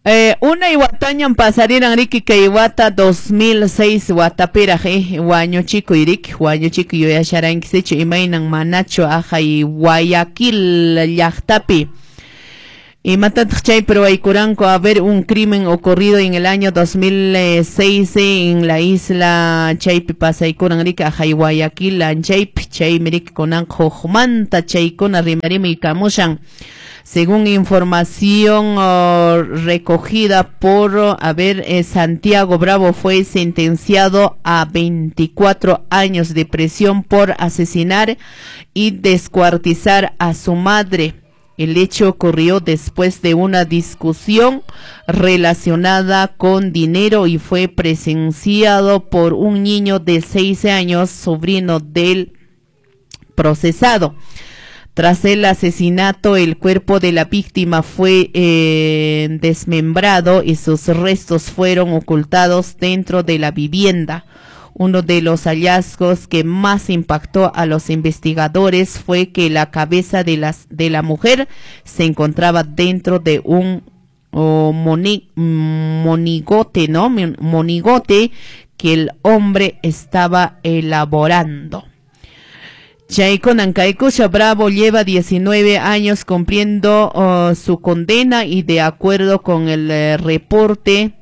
Unay watañam pasariran riki kay wata 2006 watapiraq wañuchikuy riki, wañuchikuy yuyasharankichichu imaynan manachu ahay Guayaquil llaqtapi. Imatataq chaypi ruwaykuranku? A ver, un crimen ocurrido en el año 2006 en la isla chaypi pasaykuran riki ahay Guayaquil anchaypi, chaymi riki kunanqa hukmanta chaykuna rimarimuykamushan. Según información recogida por, a ver, Santiago Bravo fue sentenciado a 24 años de prisión por asesinar y descuartizar a su madre. El hecho ocurrió después de una discusión relacionada con dinero y fue presenciado por un niño de 6 años, sobrino del procesado. Tras el asesinato, el cuerpo de la víctima fue desmembrado y sus restos fueron ocultados dentro de la vivienda. Uno de los hallazgos que más impactó a los investigadores fue que la cabeza de la mujer se encontraba dentro de un monigote, ¿no? Monigote que el hombre estaba elaborando. Chaykunan kaykusha Bravo lleva 19 años cumpliendo su condena y de acuerdo con el reporte,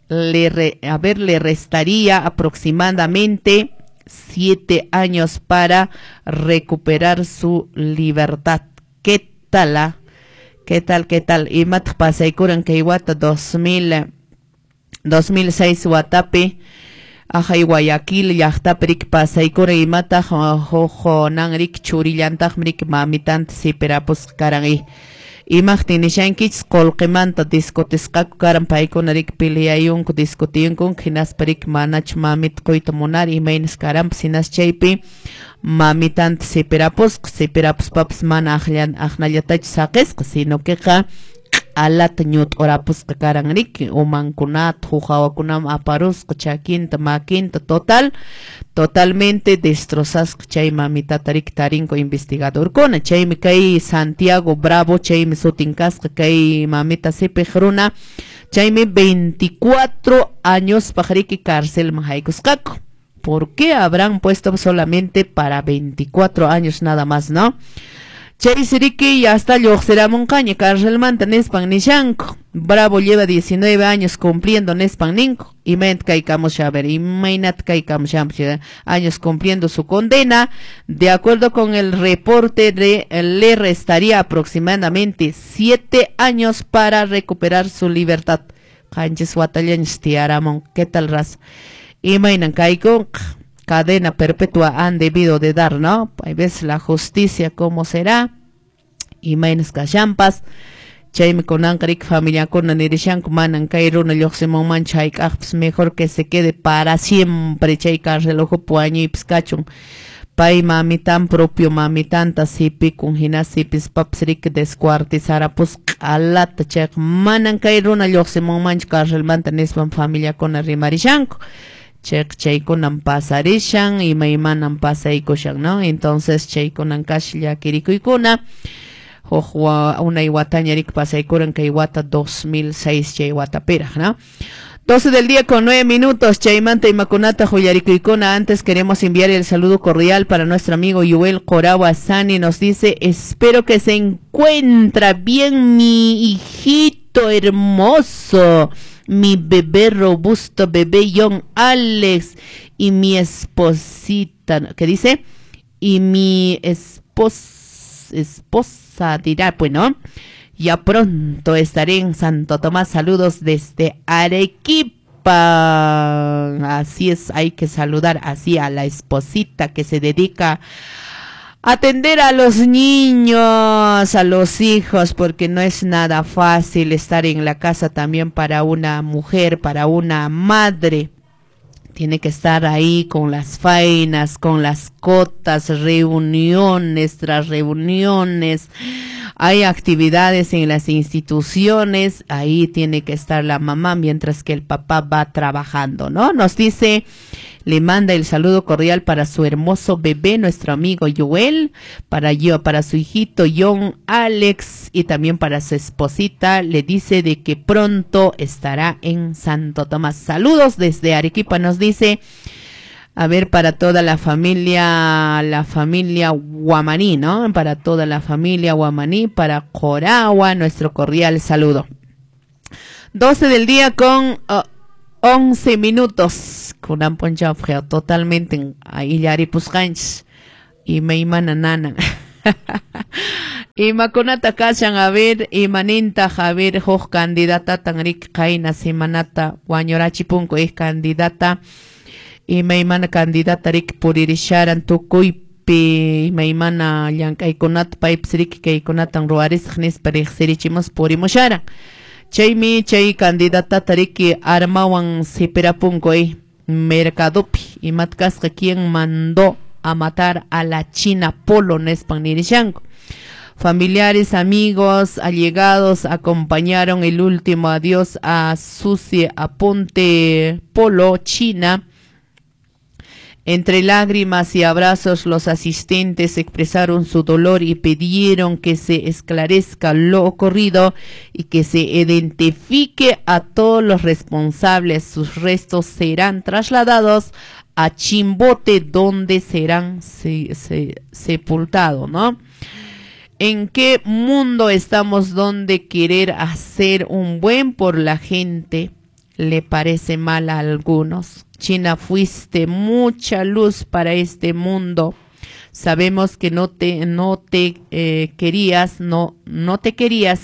le restaría aproximadamente 7 años para recuperar su libertad. ¿Qué tal? Ah? ¿Qué tal? ¿Qué tal? Imataq pasaykuran kay wata 2006 watapi ahay Guayaquil llaqtapi riki pasaykuran imataq huk nan riki churillantaqmi riki mamitanta sipirapusqa karan imaqtin nishankichis qullqimanta discutisqaku karan paykuna riki peleayunku discutiyunku hinaspa riki manachu mamita quyta munari imaynas karanpas hinas chaypi mamitanta sipirapusqa, sipirapuspapas mana aqnallatachu saqisqa sino queqa q'alata ñut'urapusqa karan riki umankunata huk hawakunaman aparusqa chakinta makinta totalmente destrozasqa chay mamitata riki tarinku investigadorkuna. Chaymi kay Santiago Bravo chaymi sutin kasqa kay mamita sipiq runa chaymi 24 añospaq riki carcelman haykusqaku. ¿Por qué habrán puesto solamente para 24 años nada más, no? Chaysi riki ya hasta lluqsiramunqaña carcelmanta nispan nishanku. Bravo lleva 19 años cumpliendo nispan ninku. Imaynata kaykamusha, a ver, imaynata kaykamusha, años cumpliendo su condena. De acuerdo con el reporte, le restaría aproximadamente 7 años para recuperar su libertad. Qanchis watallañas tiyaramun. ¿Qué tal, raza? Imaynan kaykunqa? Cadena perpetua han debido de dar, ¿no? Hay veces la justicia, ¿cómo será? Imaynas kashanpas. Chaymi kunanqa riki familiakuna nirishanku manan kay runa lluqsimunmanchu hayk'aqpas, mejor que se quede para siempre chay cárcel ukhupi wañuypas kachun. Pay mamitan propio mamitanta sipikun hina sipispapas riki descuartizarapusqa q'alata chayqa manan kay runa lluqsimunmanchu carcelmanta nispan familiakuna rimarishanku. Chayqa chaykunan pasarishan imaymanan pasaykushan, ¿no? Entonces chaykunan kasha llakirikuykuna. Huk unay wataña riki pasaykuran kay wata 2006 chay watapiraq, ¿no? 12 del día con 9 minutos. Chaymanta imakunata huyllarikuykuna. Antes queremos enviar el saludo cordial para nuestro amigo Yuel Corawa Sani. Nos dice, espero que se encuentra bien mi hijito hermoso, mi bebé robusto, bebé John Alex, y mi esposita, ¿qué dice? Y mi esposa dirá, bueno, ya pronto estaré en Santo Tomás. Saludos desde Arequipa. Así es, hay que saludar así a la esposita que se dedica a atender a los niños, a los hijos, porque no es nada fácil estar en la casa también para una mujer, para una madre. Tiene que estar ahí con las faenas, con las cotas, reuniones tras reuniones, Hay actividades en las instituciones, ahí tiene que estar la mamá mientras que el papá va trabajando, ¿no? Nos dice, le manda el saludo cordial para su hermoso bebé, nuestro amigo Joel, para yo, para su hijito John Alex y también para su esposita. Le dice de que pronto estará en Santo Tomás. Saludos desde Arequipa, nos dice. A ver, para toda la familia Guamaní, ¿no? Para toda la familia Guamaní, para Coragua, nuestro cordial saludo. 12 del día con 11 minutos. Kunan p'unchaw totalmente illaripusqanchis imaymana nana. Imakunata kashan, a ver, imanintaq, a ver, huk candidatatan rik qayna semanata wañurachipunku ik candidata, imaymana candidata rik puririsharan tukuypi imaymana llank'aykunata paypis rik kaykunatan ruwarisaq nispa riqsirichimus purimusharan. Chaymi chay candidatata riki armawan sipirapunku mercadopi imat kasqa quien mandó a matar a la China Polo nispan nirishanku. Familiares, amigos, allegados acompañaron el último adiós a Susi Aponte Polo, China. Entre lágrimas y abrazos, los asistentes expresaron su dolor y pidieron que se esclarezca lo ocurrido y que se identifique a todos los responsables. Sus restos serán trasladados a Chimbote, donde serán sepultados, ¿no? ¿En qué mundo estamos donde querer hacer un buen por la gente le parece mal a algunos? China, fuiste mucha luz para este mundo. Sabemos que no te querías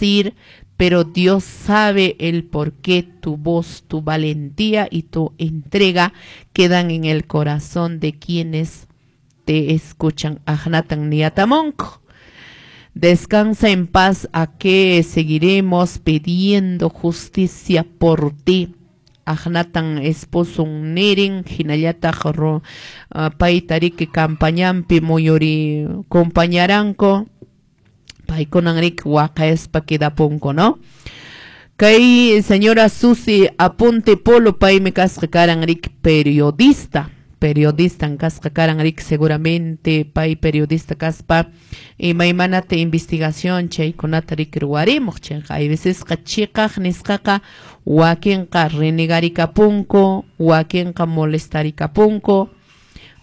ir, pero Dios sabe el por qué. Tu voz, tu valentía y tu entrega quedan en el corazón de quienes te escuchan. Ajnatan niatamonko. Descansa en paz, a que seguiremos pidiendo justicia por ti. Ajnatan esposo nirin, hinallataq payta riki campañanpi muyuri compañaranko, paykunan riki waqayaspa quedapunku, ¿no? Kay señora Susi Aponte Polo paymi kasqa karan riki periodista. Periodista kasqa karan riki seguramente pay periodista kaspa imaymanata investigación chaykunata riki ruwarimuq chayqa hay vecesqa chiqaq nisqaqa wakinqa renegarikapunku, wakinqa molestarikapunku,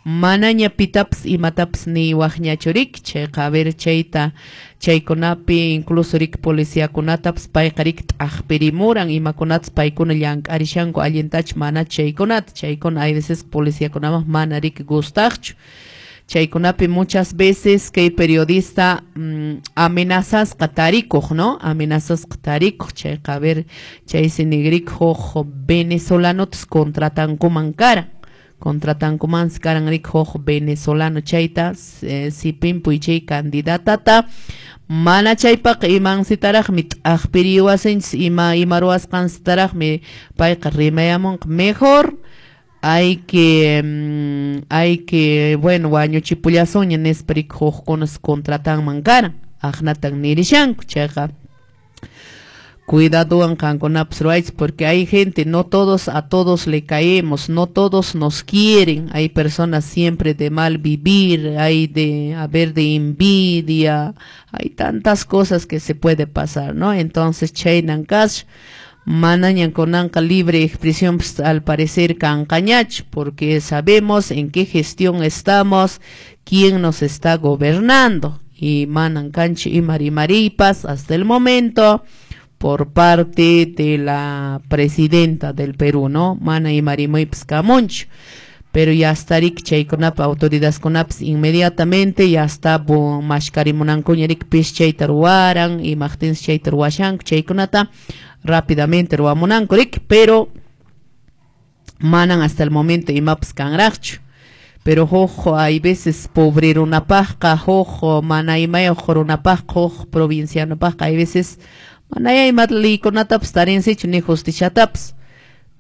manaña pitapas imatapas niwaqñachu riki chayqa a ver chayta chaykunapi incluso riki policiakunatapas payqa riki t'aqpirimuran imakunatas paykuna llank'arishanku allintachu mana chaykunata chaykuna hay veces policiakunaman mana riki gustaqchu. Chaykunapi muchas veces kay periodista amenazasqa tarikuq, ¿no? Amenazasqa tarikuq chayqa a ver chaysi nigrik huk venezolanotas contratankuman karan. Contratankuman karan rik huk venezolano chayta sipinpuy chay candidatata mana chaypaq imansitaraqmi t'aqpiriwasinchis ima ruwasqansitaraqmi payqa rimayamunqa mejor hay que bueno wañuchipullasunña nispa rik hukkunas contratanman karan aqnatan nirishanku chayqa cuidadowan qankunapas ruwaychis porque hay gente, no todos a todos le caemos, no todos nos quieren, hay personas siempre de mal vivir, hay de haber de envidia, hay tantas cosas que se puede pasar, ¿no? Entonces chaynan kash manañan kunanqa libre expresión pues, al parecer kanqañach, porque sabemos en qué gestión estamos, quién nos está gobernando y manan kanchi y marimaripas hasta el momento por parte de la presidenta del Perú, ¿no? Mana y marimuips kamunchu. Pero ya está rik chaykunapa autoridades kunapas inmediatamente ya está mashkarimunankuña rik pis chayta ruwaran y maqtinsi chayta ruwashanku chaykunata rápidamente ruwamunanku rik, pero manan hasta el momento imapas kanraqchu. Pero huk hay veces pobre runapaqqa huk mana imayuq runapaqqa huk provincianopaqqa hay veces manaya imata leykunatapas tarinsichu ni justiciatapas.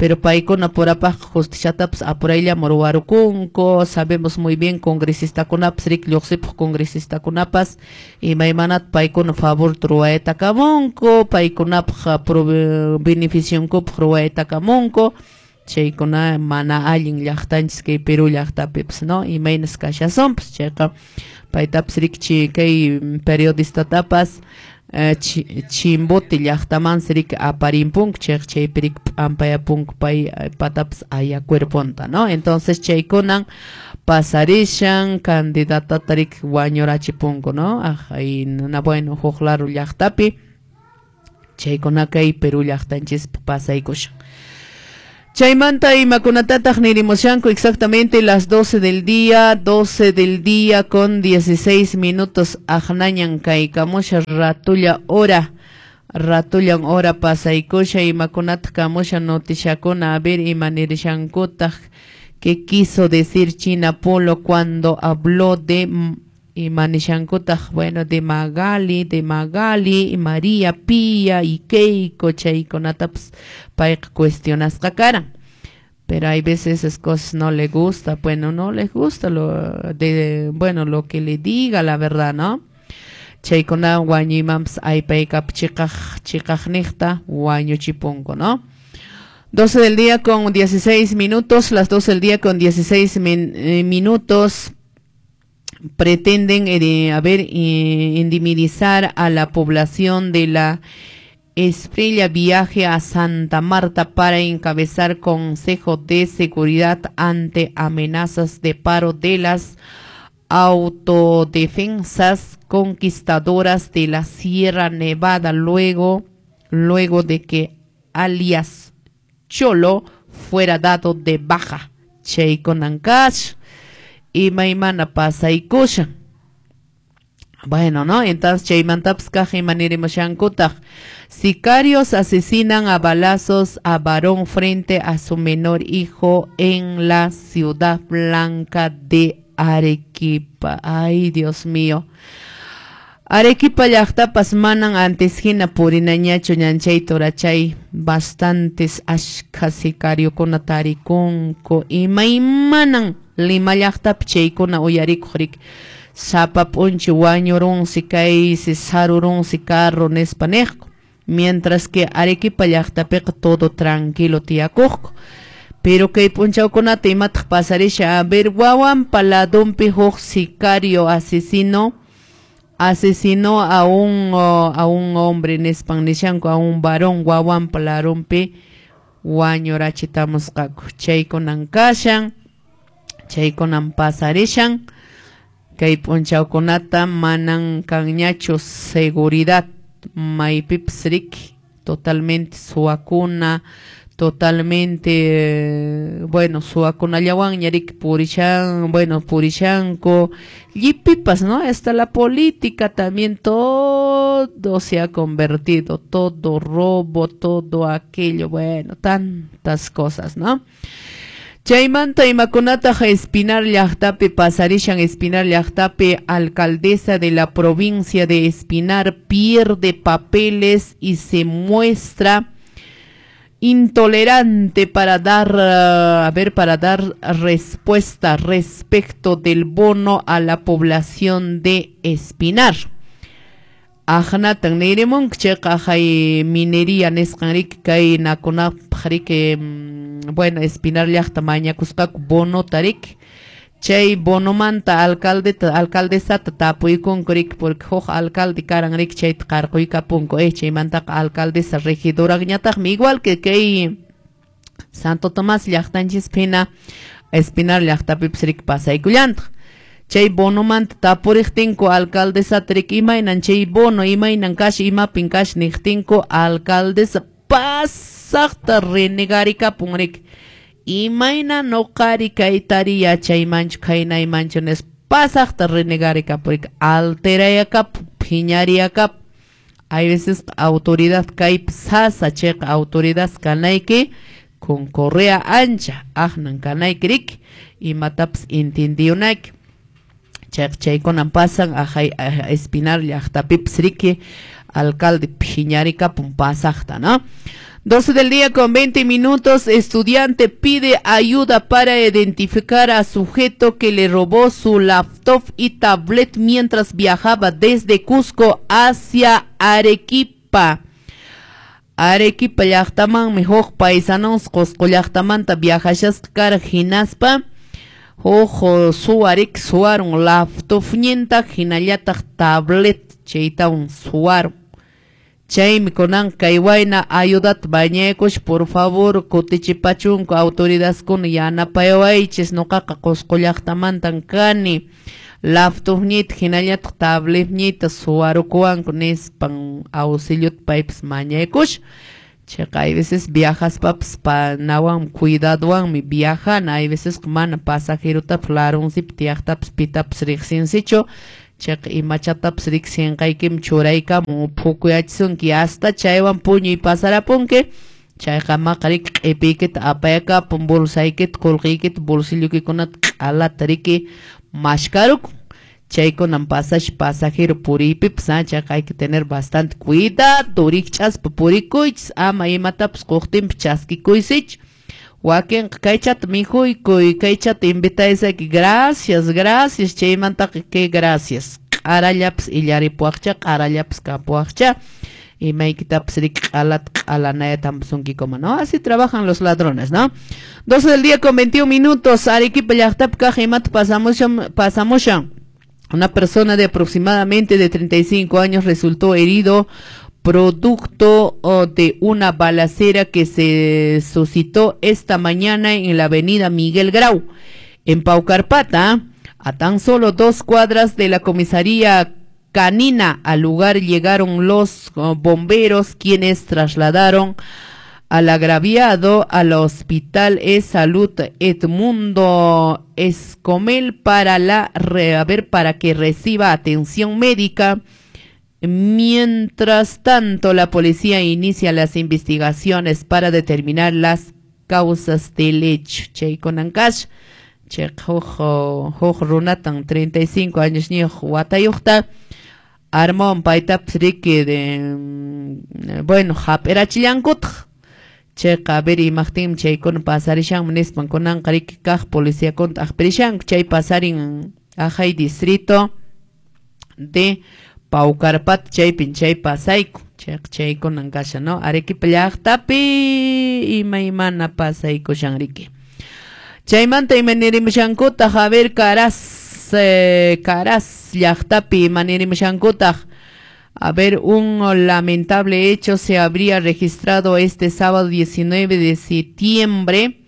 Pero paykuna purapaqqa justiciatapas apurayllaman ruwarukunku. Sabemos muy bien congresistakunapas, riki, lluqsipuq congresistakunapas imaymanata paykuna favorta ruwaytakamunku, paykunapaq beneficionkupaq ruwaytakamunku. Chaykuna mana allin llaqtanchis kay Perú llaqtapipas, ¿no? Imaynas kashasunpas chayqa paytapas riki kay periodistatapas Chimbote llaqtamansi riki aparimpunku, chayqa chaypi riki p'ampayapunku pay patapas aya cuerponta, ¿no? Entonces chaykunan pasarishan, candidatata riki wañurachipunku, ¿no? Ay, bueno, huk laro llaqtapi chaykuna kay Perú llaqtanchispi pasaykushan. Chaymanta imakunatataq nirimushanku exactamente las 12 del día, 12 del día con 16 minutos aqnañan kaykamusha ratulla hora, ratullan hora pasaykusha imakunataq kamusha noticiakuna, a ver ima nirishankutaq, qué quiso decir China Polo cuando habló de imanishankutaq, bueno, de Magali, María Pía y Keiko, chaykunatapas payqa cuestionasqa karan. Pero hay veces esas cosas no le gusta, bueno, no les gusta lo de, bueno, lo que le diga la verdad, ¿no? Chaykuna wañuymanpas aypaykap chiqaqniqta wañuchipunku, ¿no? 12 del día con 16 minutos, las 12 del día con 16 minutos. Pretenden indemnizar a la población de la Esprella viaje a Santa Marta para encabezar Consejo de Seguridad ante amenazas de paro de las autodefensas conquistadoras de la Sierra Nevada luego de que alias Cholo fuera dado de baja. Chaykunankash imaymana pasaykushan. Bueno, ¿no? Entonces chaymantapas kaq imanirimushankutaq. Sicarios asesinan a balazos a varón frente a su menor hijo en la Ciudad Blanca de Arequipa. Ay, Dios mío. Arequipa llaqtapas manan antes hina purinañachu ñanchay turachay, bastantes ashkha sicariokuna tarikunku. Imaymanan Lima llaqtapi chaykuna uyarikuq riki, sapa p'unchi wañurunsi kaysi sarurunsi carro nispa niqku. Mientras que Arequipa llaqtapiqa todo tranquilo tiyakuqku. Pero kay p'unchawkunata imataq pasarisha, a ver, wawanpa ladunpi huk sicario asesinó a un hombre nispan nishanku, a un varón wawanpa ladunpi wañurachitamusqaku. Chaykunan kashan, chaykunan pasarishan. Kay p'unchawkunata manan kanñachu seguridad maypipas riki, totalmente suwakuna, totalmente, bueno, suwakunallawanña riki purishan, bueno, purishanku, llipipas, ¿no? Hasta la política también, todo se ha convertido, todo robo, todo aquello, bueno, tantas cosas, ¿no? Chaymanta imakunataq Espinar llaqtapi pasarishan. Espinar llaqtapi alcaldesa de la provincia de Espinar pierde papeles y se muestra intolerante para dar, para dar respuesta respecto del bono a la población de Espinar. Aqnatan nirimunku chayqa hay minería nisqan riki kay nakunapaq riki, bueno, Espinar llaqta mañakusqaku bonota riki, chay bonomanta alcaldesata tapuykunku riki, porque huk alcalde karan riki chayta qarquykapunku, chaymantaqa alcaldesa regidorañataqmi, igual que kay Santo Tomás llaqtanchispi hina Espinar llaqtapipas riki pasaykullantaq. Chay bonomanta tapuriqtinku alcaldesata riki, imaynan chay bono, imaynan kash, imapin kash niqtinku, alcaldesa pasaqta renegarikapun riki, imayna noqari kaytari yachaymanchu khaynaymanchu nispa pasaqta renegarikapun riki, alterayakapun, phiñariyakapun. Hay veces autoridad kaypi sasa chayqa autoridad kanayki con correa ancha aqnan kanayki riki, imatapas entendiyunayki. Chaykunan pasan ajay Espinar llaqtapipas riki, alcalde phiñarikapun pasaqta, ¿no? 12 del día con 20 minutos, estudiante pide ayuda para identificar a sujeto que le robó su laptop y tablet mientras viajaba desde Cusco hacia Arequipa. Arequipa llaqtamanmi huk paisanos Cusco llaqtamanta viajashasqa kara hinaspa huk suwarik suwarun laptopninta hinallataq tablet chaytawan suwarun. Chaymi kunan kay wayna ayudata bañaykush, por favor kutichipachunku autoridadkuna yanapayawaychis, nuqaqa Cusco llaqtamantan kani, laptopniyta hinallataq tabletniyta suwarukuwanku nispan auxiliota paypas mañaykush. Chayqa hay veces viajaspapas panawanmi cuidadowanmi viajana, hay veces mana pasajerotapas larunsipi tiyaqtapas pitapas riqsinsichu. Chayqa imachatapas riqsinqaykimi churaykamun phukuyachisunki hasta chaywan puñuy pasarapunki. Chayqa maqa riki q'ipiykita apayakapun bolsaykita qullqiykita bolsilloykikunata q'alata riki mashkarukun. Chaykunan pasash pasajero puriypipas, chayqa hay que tener bastante cuidado, rikch'aspa purikuychis, ama imatapas quqtinpi chaskikuysichu. Wakinqa kaychata mikhuykuy, kaychata invitaysayki, gracias, gracias, chaymantaqa que gracias. Q'arallapas illaripuwaqcha, q'arallapas kapuwaqcha, imaykitapas riki q'alata q'alanayata hampusunkikuma, ¿no? Así trabajan los ladrones, ¿no? 12 del día con 21 minutos, Arequipa llaqtapi kaq imata pasamushan. Una persona de aproximadamente de 35 años resultó herido producto de una balacera que se suscitó esta mañana en la avenida Miguel Grau, en Paucarpata, a tan solo 2 cuadras de la comisaría canina. Al lugar llegaron los bomberos, quienes trasladaron al agraviado al hospital E-Salud Edmundo Escomel para que reciba atención médica. Mientras tanto, la policía inicia las investigaciones para determinar las causas del hecho. Chaykunankash, chay huk runatan 35 años niyuq watayuqta armawan paytapas riki de, bueno, hap'irachillankutaq. Chayqa a ver imaqtinmi chaykuna pasarishanmi nispan kunanqa riki kaq policiakunata aqpirishanku. Chay pasarin ajay distrito de Paucarpata, chaypin chay pasayku. Chayqa chaykunan kashan, ¿no? Arequipa llaqtapi imaymana pasaykushan riki. Chaymanta imanirimushankutaq, a ver, Caraz llaqtapi imanirimushankutaq. A ver, un lamentable hecho se habría registrado este sábado 19 de septiembre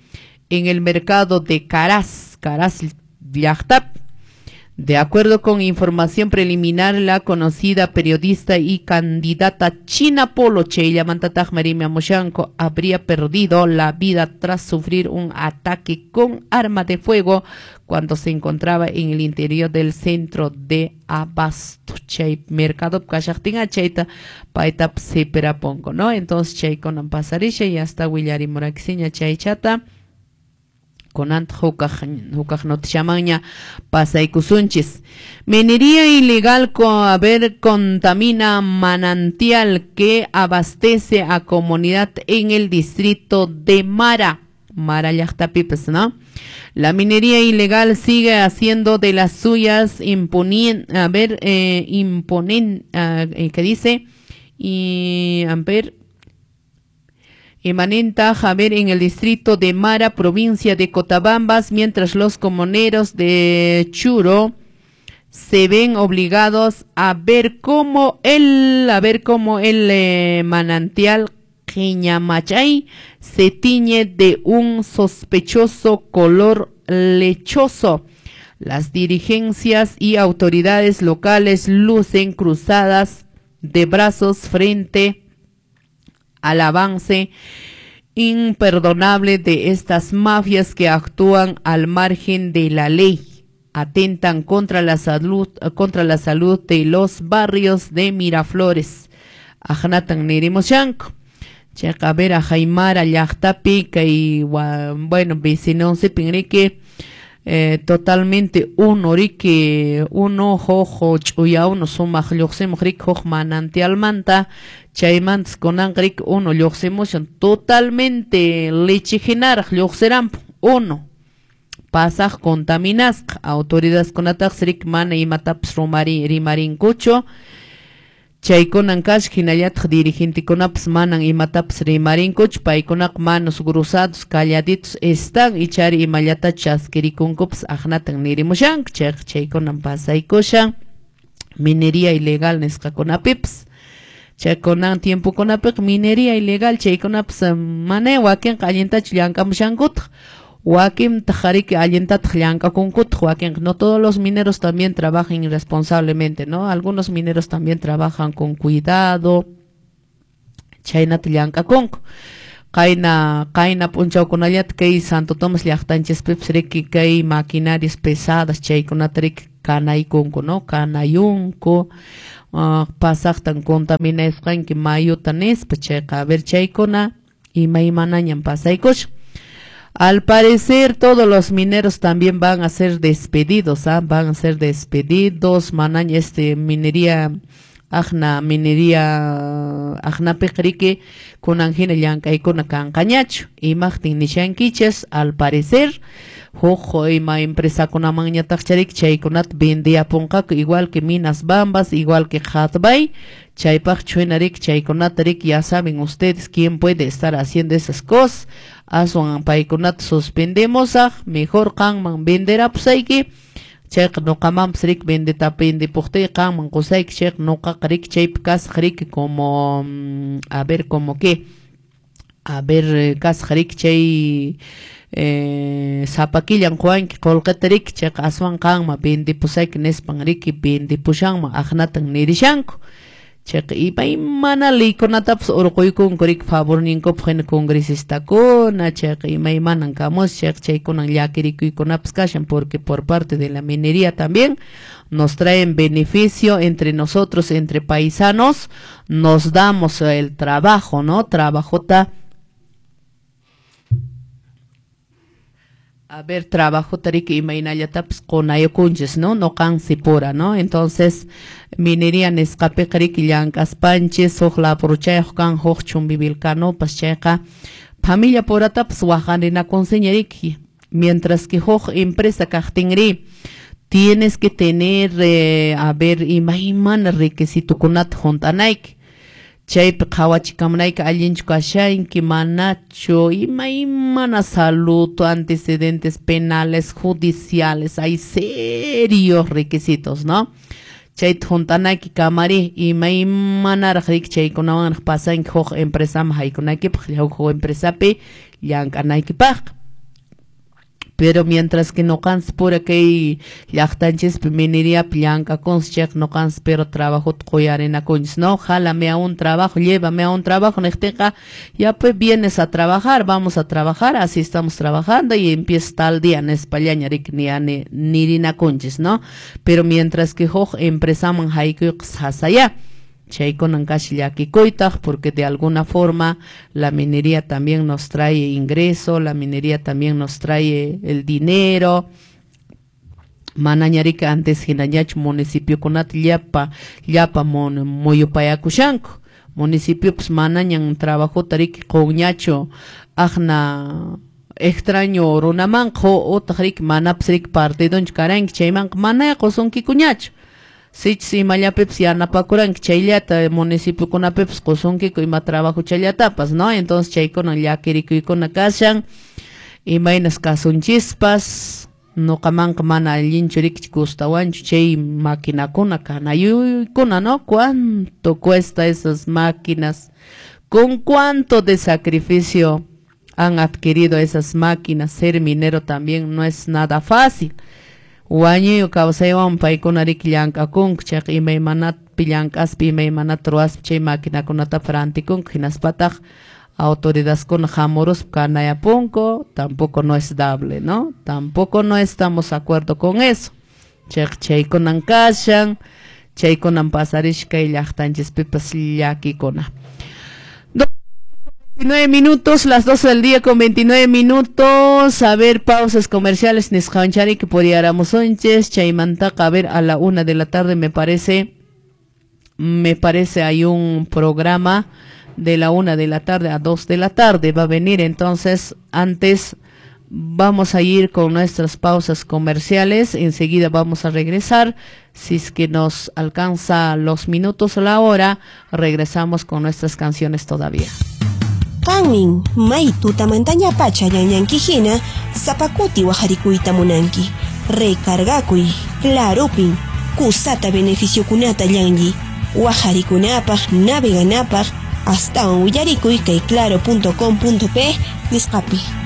en el mercado de Caraz, Caraz llaqtapi. De acuerdo con información preliminar, la conocida periodista y candidata China Polo, chayllamantataq Marimi Amushanko, habría perdido la vida tras sufrir un ataque con arma de fuego cuando se encontraba en el interior del centro de abasto. Chay mercado kashaqtinqa chayta paytapas sipirapunku, ¿no? Entonces chaykunan pasarisha y hasta willarimuraykisiña chaychata. Kunanta hukaq noticiamanña pasaykusunchis. Minería ilegal contamina manantial que abastece a comunidad en el distrito de Mara. Mara llaqtapipas, ¿no? La minería ilegal sigue haciendo de las suyas ¿qué dice? Y a ver, Emanenta Javier en el distrito de Mara, provincia de Cotabambas, mientras los comuneros de Churo se ven obligados a ver cómo el manantial Quiñamachay se tiñe de un sospechoso color lechoso. Las dirigencias y autoridades locales lucen cruzadas de brazos frente al avance imperdonable de estas mafias que actúan al margen de la ley, atentan contra la salud de los barrios de Miraflores. Ajnatan nirimoshanko. Chayqa a ver a Jaimara llaqtapi kay bueno vecinosipin riki Totalmente unu riki, unu huk ch'uya unu sumaq lluqsimuq riki huk manantialmanta, chaymantas kunanqa riki unu lluqsimushan totalmente leche hinaraq lluqsiranpun unu pasaq contaminasqa. Autoridadkunataqsi riki mana imatapas rimarinkuchu, chaykunan kasqa, hinallataq dirigentekunapas manan imatapas rimarinkuchu, paykunaqa manos cruzados, calladitos están, ichari imallata chaskirikunkupas aqnatan nirimushanku. Chayqa chaykunan pasaykushan minería ilegal nisqakunapipas. Chaykunan tiempokunapiqa minería ilegal chaykunapas mana wakinqa allintachu llank'amushankutaq, wakintaq riki allintataq llank'akunkutaq, wakinqa no todos los mineros también trabajan irresponsablemente, ¿no? Algunos mineros también trabajan con cuidado, chaynata llank'akunku. Qayna p'unchawkunallata kay Santo Tomás llaqtanchispipas riki kay maquinarias pesadas chaykunata riki kanaykunku, ¿no? Kanayunku, pasaqtan contaminasqanki mayuta nispa, chayqa a ver chaykuna imaymanañan pasaykushan. Al parecer todos los mineros también van a ser despedidos, ¿ah? Van a ser despedidos, manaña minería aqna minería aqnapiqa riki kunan hina llank'aykuna kanqañachu. Imaqtin nishankichis, al parecer huk ima empresakunamanñataqcha riki chaykunata vendiyapunqaku, igual que Minas Bambas, igual que Hudbay, chaypaq chuhina riki chaykunata riki ya saben ustedes quién puede estar haciendo esas cosas. Aswan paykunata suspendemosaq, mejor qanman venderapusayki, chayqa nuqamanpas riki vendepuqtiyqa qanman qusayki, chayqa nuqaqa riki chaypi kasaq riki como, a ver como qué, a ver kasaq riki chay sapakillan quwanki qullqita riki, chayqa aswan qanman vendepusayki nispan riki vendepushanman aqnatan nirishanku. Chayqa imaymana leykunatapas urquykunku riki favorninkupaq hina congresistakuna, chayqa imaymanan kamus, chayqa chaykunan llakirikuykunapas kashan, porque por parte de la minería también nos traen beneficio entre nosotros, entre paisanos, nos damos el trabajo, ¿no? Trabajota, a ver, trabajo tariki imaynallatapas qunayukunchis, ¿no? Nuqansi pura, ¿no? Entonces, minería nisqapiqa riki llank'aspanchis, huk labruchayuq kan, huk chumbivilcanopas, chayqa familia puratapas waqarinakunsiña riki. Mientras que huk empresa kaqtinri, tienes que tener, a ver, imaymana requisitokunata hunt'anayki. Chaypi qhawachikamunayki allinchu kashanki, manachu, imaymana salud, antecedentes penales, judiciales, hay serios requisitos, ¿no? Chayta hunt'anayki kamari, imaymanaraq riki chaykunawanraq pasanki huk empresaman haykunaykipaq, huk empresapi llank'anaykipaq. Pero mientras que nuqanchis pura kay llaqtanchispi mineriapi llank'akunchis, chayqa nuqanchis pero trabajota quyarinakunchis, ¿no? Jálame a un trabajo, llévame a un trabajo, niqtinqa ya pues vienes a trabajar, vamos a trabajar, así estamos trabajando y empieza tal día nispallaña riki nirinakunchis, ¿no? Pero mientras que huk empresaman haykuyqa sasaya. Chaykunan kashi llakikuytaq, porque de alguna forma la minería también nos trae ingreso, la minería también nos trae el dinero. Manaña riki antes hinañachu municipiokunata llapa muyupayakushanku. Municipiopas manañan trabajota riki qunñachu aqna extraño runamanqa, utaq riki manapas riki partidonchu karanki chaymanqa mana qusunkikuñachu. Sichus imallapipas yanapakuranki chayllata municipiokunapipas qusunkiku ima trabajo chayllatapas, ¿no? Entonces chaykunan llakirikuykuna kashan, imaynas kasunchispas, nuqamanqa mana allinchu riki gustawanchu chay maquinakuna kanayuykuna, ¿no? ¿Cuánto cuesta esas máquinas? ¿Con cuánto de sacrificio han adquirido esas máquinas? Ser minero también no es nada fácil. Wañuyu kawsaywan paykuna riki llank'akunku, chayqa imaymanatpi llank'aspa, imaymanata ruwaspa chay maquinakunatapas rantikunku, hinaspataq autoridadkuna hamuruspa kanayapunku, tampoco no es dable, ¿no? Tampoco no estamos de acuerdo con eso. Chayqa chaykunan kashan, chaykunan pasarishka kay llaqtanchispipas llakikuna. 9 minutos, las 12 del día con 29 minutos. A ver, pausas comerciales. Nisqanchari que puriaramusunchis. Chaymantaqa, a ver, a la 1 de la tarde me parece hay un programa de la 1 de la tarde a 2 de la tarde. Va a venir entonces, antes vamos a ir con nuestras pausas comerciales. Enseguida vamos a regresar. Si es que nos alcanza los minutos o la hora, regresamos con nuestras canciones todavía. Qanmin may tutamantaña pacha llanllanki hina sapa kuti wajarikuyta munanki. Recargakuy, Claropin, kusata beneficiokunata llanlli. Wajarikunapaq, naveganapaq, astawan willarikuy kay claro.com.pe nisqapi.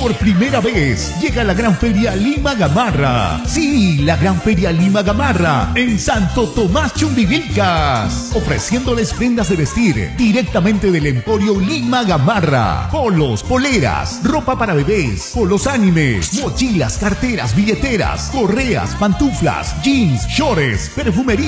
Por primera vez llega la Gran Feria Lima Gamarra. Sí, la Gran Feria Lima Gamarra en Santo Tomás Chumbivilcas. Ofreciéndoles prendas de vestir directamente del Emporio Lima Gamarra. Polos, poleras, ropa para bebés, polos animes, mochilas, carteras, billeteras, correas, pantuflas, jeans, shorts, perfumería.